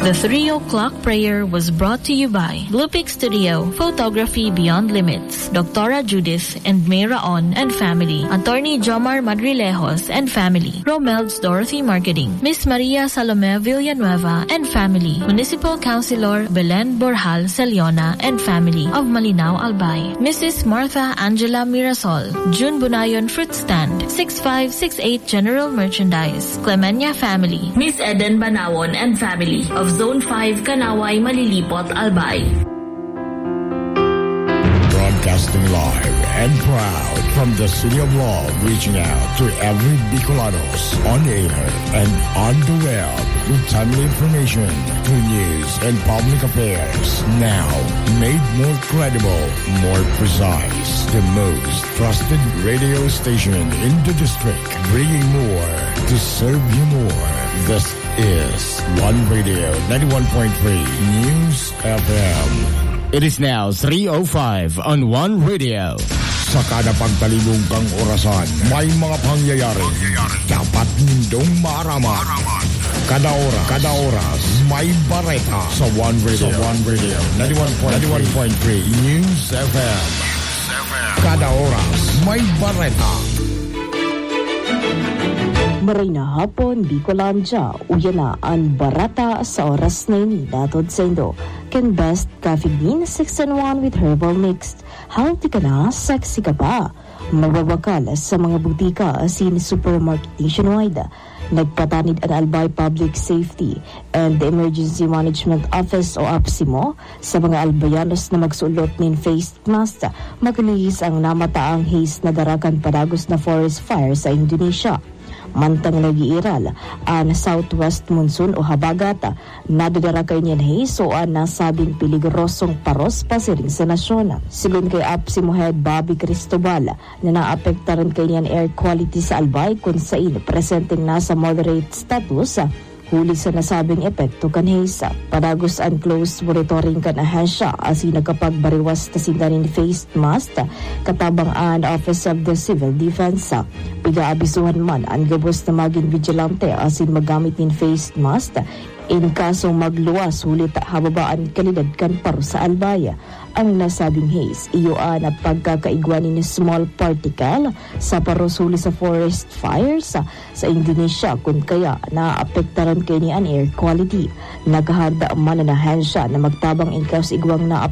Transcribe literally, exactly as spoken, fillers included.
The three o'clock prayer was brought to you by Blue Peak Studio, Photography Beyond Limits, Doctora Judith and May Raon and family, Attorney Jomar Madrilejos and family, Romel's Dorothy Marketing, Miss Maria Salome Villanueva and family, Municipal Councilor Belen Borjal Celiona and family of Malinao, Albay, Missus Martha Angela Mirasol, June Bunayon Fruit Stand, six five six eight General Merchandise, Clemenia family, Miss Eden Banawon and family of Zone five, Kanaway, Malilipot, Albay. Broadcasting live and proud from the City of Love, reaching out to every Bicolanos on air and on the web with timely information, true news, and public affairs. Now, made more credible, more precise, the most trusted radio station in the district, bringing more to serve you more. This is One Radio ninety-one point three News F M. It is now three oh five on One Radio. Sa kada pagtalibong kang orasan, may mga pangyayari dapat nindong maaraman. Kada oras, kada oras, may bareta sa One Radio. Sa One Radio, ninety-one point three News F M. Kada oras, may bareta. Maray na hapon, Bicolandia. Uya na an bareta sa oras na ini, hatod saindo kan Best Coffee Bean six-in-one with Herbal Mix. Healthy ka na, sexy ka pa. Mababakal sa mga butika asin supermarket nationwide. Nagpatanid an Albay Public Safety and Emergency Management Office o APSEMO sa mga Albayanos na magsulot nin face mask, maglihis ang namataang haze na dara kan padagos na forest fire sa Indonesia. Mantang nag-iiral an southwest monsoon o habagat, nadadara kaini an haze o an nasabing peligrosong paros pasiring sa nasyon. Sigon kay APSEMO Head Bobby Cristobal, na naapektaran kaini an air quality sa Albay, kun sain presenteng nasa moderate status, huli sa nasabing epekto kan haze. Padagos an close monitoring kan ahensya asin nagkapagbariwas na sinda nin face mask katabang an Office of the Civil Defense. Pig-aabisuhan man an gabos na magin bigilante asin maggamit nin face mask in kaso magluwas huli ta hababa an kalidad kan paros sa Albay. Ang nasabing haze, iyo an pagkakaigwa nin small particle sa paros huli sa forest fires sa Indonesia, kun kaya naapektaran kaini an air quality. Nakahanda man an ahensya na magtabang in kaso igwang naapektaran